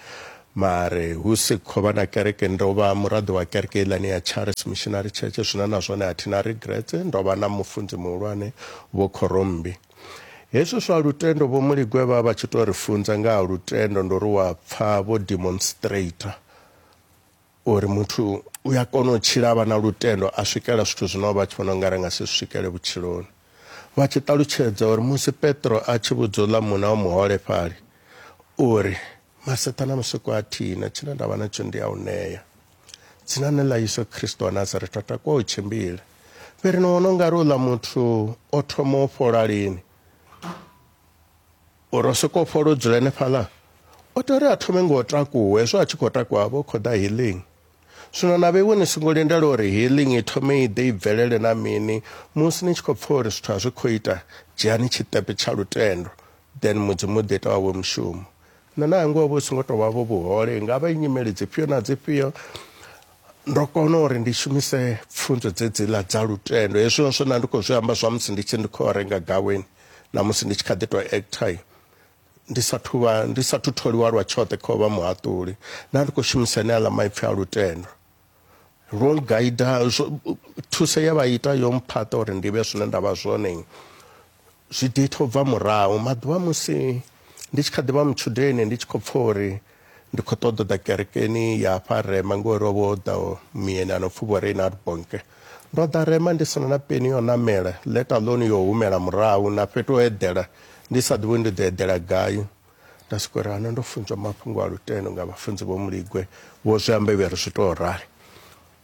mare hu si khou vha na kereke ndo vha muraḓo wa kereke eiḽani ya Charles Missionary Church, zwine na zwone a thi na regrets. Ndo vha na mufunzi muhulwane vho Khorombi. Hezwi zwa lutendo vho Muligwe vha vha tshi to ri funza nga ha lutendo, ndo ri wa pfa vho demonstrator uri muthu u ya kona u tshila vha na lutendo a swikela zwithu zwine vha tshi vhona ungari nga si swikele vhutshiloni. Vha tshi ṱalutshedza uri musi Petro a tshi vhudza uḽa munna wa muholefhali uri maseṱha na musiku a thina tshine nda vha natsho ndi a u ṋea, dzinani ḽa Yesu Kristo wa Nazaretha takuwa u tshimbile. Fheri ni vhona ungari uḽa muthu o thoma u fhola lini? Uri o sokou fhola o dzula henefhaḽa? O tea uri a thome ngo takuwa, hezwo a tshi khou takuwa vho khou ḓa healing. Zwino na vheiwe ni songo lindela uri healing i thome i ḓe i bvelele na mini. Musi ni tshi khou pfha uri zwithu a zwi khou ita, dzhiani tshiṱepe tsha lutendo, then Mudzimu u ḓo ita wawe mushumo. Nṋe na hangwa vho songo tou vha vho vhuhole, nga vha nyimele dzifhio na dzifhio, ndo kona uri ndi shumise pfunzo dzedziḽa dza lutendo. Hezwi zwone ndi khou zwi amba zwa musi ndi tshi ndi khou renga gaweni na musi ndi tshi kha ḓi tou actor, ndi sathu vha ndi sathu tholiwa lwa tshoṱhe kha u vha muhaṱuli, na ndi khou shumisa aneaḽa maipfi a lutendo. Ro guida thuso ye vha ita yo mphaṱa uri ndi vhe zwine nda vha zwone, zwi ḓi ita u bva murahu. Maḓuvha musi ndi tshi kha ḓi vha mutshudeni ndi tshi khou pfha uri ndi khou ṱoḓa ḓa kerekeni ya hafha Rema ngori ho vha ho ḓa muyeni ano pfhi vho Reinhard Bonnke. Ndo ḓa Rema ndi sina na peni yo ṋamela, let alone yo humela murahu na fhethu ho eḓela ndi sa ḓivhi ndi ḓo eḓela gai. Nda soko uri hana ndo funzwa mafhungo a lutendo nga vhafunzi vho Muligwe, vho zwi amba vhe ri zwi tou rali.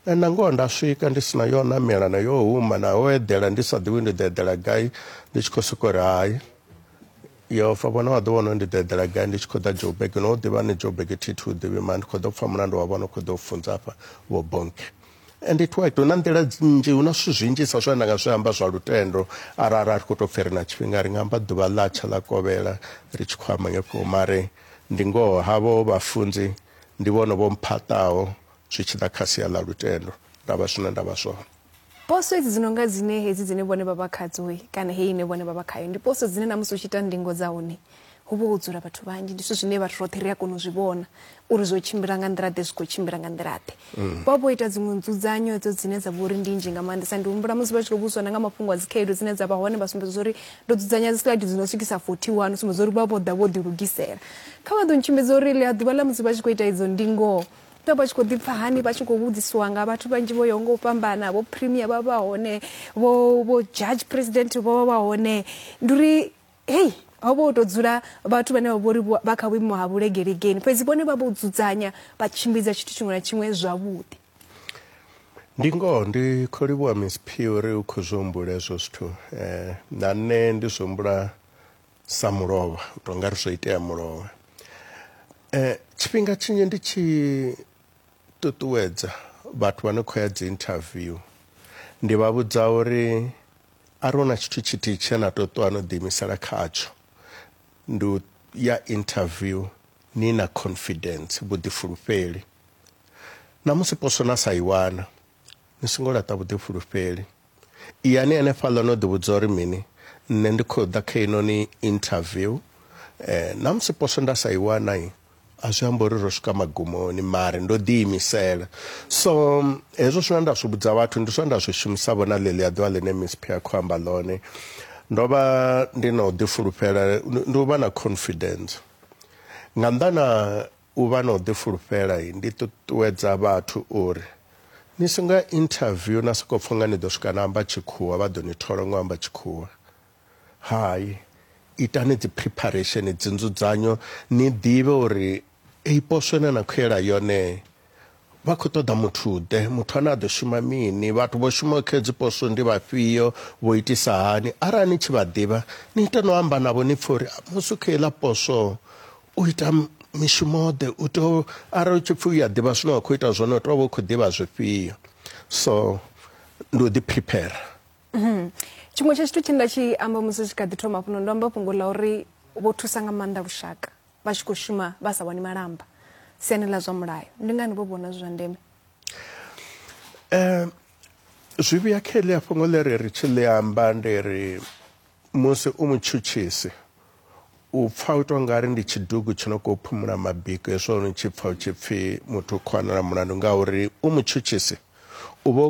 Na ngoho nda swika ndi sina yo ṋamela na yo huma na ho eḓela ndi sa ḓivhi ndi ḓo eḓela gai, ndi tshi khou soko uri hai Yehova vhona wa ḓo vhona ndi ḓo eḓela gai ndi tshi khou ḓa Joburg, no ḓivha ni Joburg thi thu ḓivhi mara ndi khou ḓo pfha mulandu wa vhona khou ḓo funza hafha vho Bonnke. And it worked. Hu na nḓila nnzhi, hu na zwithu zwinzhisa zwine nda nga zwi amba zwa lutendo arali ri khou tou pfhi ri na tshifhinga ri nga amba ḓuvha ḽa tsha ḽa kovhela ri tshi khou amba ngefho, mare ndi ngoho havho vhafunzi ndi vhone vho mphaṱaho zwi tshi ḓa kha sia ḽa lutendo nda vha zwine nda vha zwone. Poso hedzi dzi nonga dzine hedzi dzine vhone vha vha khadzo kana heyi ine vhone vha vha khayo, ndi poso dzine na musi u tshi ita ndingo dza hone hu vha ho dzula vhathu vhanzhi, ndi zwithu zwine vhathu roṱhe ri a kona u zwi vhona uri zwo tshimbila nga nḓila ḓe, zwi khou tshimbila nga nḓila ḓe. Vha vho ita dziṅwe nzudzanyo hedzo dzine dza vha uri ndi nnzhi nga maanḓesa. Ndi humbula musi vha tshi khou vhudzwa na nga mafhungo a dzikhaedu dzine dza vha hone, vha sumbedza uri ndo dzudzanya dzi slide dzi no swikisa forty one, u sumbedza uri vha vho ḓa vho ḓilugisela. Kha vha ḓo ntshimbidza uri ḽia ḓuvha ḽa musi vha tshi khou ita idzo ndingo vha tshi khou ḓi pfha hani, vha tshi khou vhudzisiwa nga vhathu vhanzhi vho yaho nga u fhambana, vho premier vha vha hone, vho vho judge president vho vha vha hone. Ndi uri hei ho vha ho tou dzula vhathu vhane vha vhori vha kha vhuimo ha vhulegelegeni, fhedzi vhone vha vho dzudzanya vha tshimbidza tshithu tshiṅwe na tshiṅwe zwavhuḓi. Ndi ngoho ndi khou livhuwa Miss P uri u khou zwi humbula hezwo zwithu. Eh, na nṋe ndi zwi humbula sa mulovha, u tou nga ri zwo itea mulovha. Eh, tshifhinga tshinzhi ndi tshi ṱuṱuwedza vhathu vha no khou ya dzi interview, ndi vha vhudza uri arali hu na tshithu tshithihi tshine na tou ṱuwa no ḓiimisela khatsho, ndi u ya interview ni na confidence, vhuḓifulufheli. Na musi poso na sa i wana, Ni songo laṱa vhuḓifulufheli. Iyani hanefhaḽa no ḓivhudza uri mini, nṋe ndi khou ḓa kha inoni interview, eh, na musi poswo nda sa i wana a zwi amba uri ro swika magumoni, mare ndo ḓiimisela. So hezwo zwine nda zwi vhudza vhathu ndi zwine nda zwi shumisa vho na ḽeḽia ḓuvha ḽine Miss P a khou amba ḽone. Ndo vha ndi na u ḓifulufhela, ndi u vha na confidence. Nga nnḓa na u vha na u ḓifulufhela, ndi ṱuṱuwedza vhathu uri ni songo ya interview na sokou pfa nga ni ḓo swika na amba tshikhuwa vha ḓo ni thola ngo amba tshikhuwa. Hai, itani dzi preparation, dzi nzudzanyo, ni ḓivhe uri ei poswo ine na khou yela yone vha khou ṱoḓa muthu ḓe, muthu ane a ḓo shuma mini, vhathu vho shumaho kha hedzi poswo ndi vhafhio, vho itisa hani. Arali ni tshi vha ḓivha ni ite no amba navho ni pfhe uri musi u kha heiḽa poswo u ita mishumo ḓe, u tea arali u tshi pfhi u ya ḓivha zwine wa khou ita zwone u tea u vha u khou ḓivha zwifhio. So ndi u ḓi prepare. Tshiṅwe tsha tshithu tshine nda tshi amba musi tshi kha ḓi thoma hafhanoni, ndo amba fhungo ḽa uri vho thusa nga maanḓa lushaka vha tshi khou shuma vha sa wani malamba siani ḽa zwa mulayo. Ndi ngani vho vhona zwi zwa ndeme? Eh, zwi vhuya kha heḽia fhungo ḽe ri ri tshi ḽi amba, ndi ri musi u mutshutshisi u pfa u to ngari ndi tshidugu tshi no khou phumula mabiko, hezwo ni tshi pfa u tshi pfi muthu u khou wanala mulandu, ngauri u mutshutshisi u vha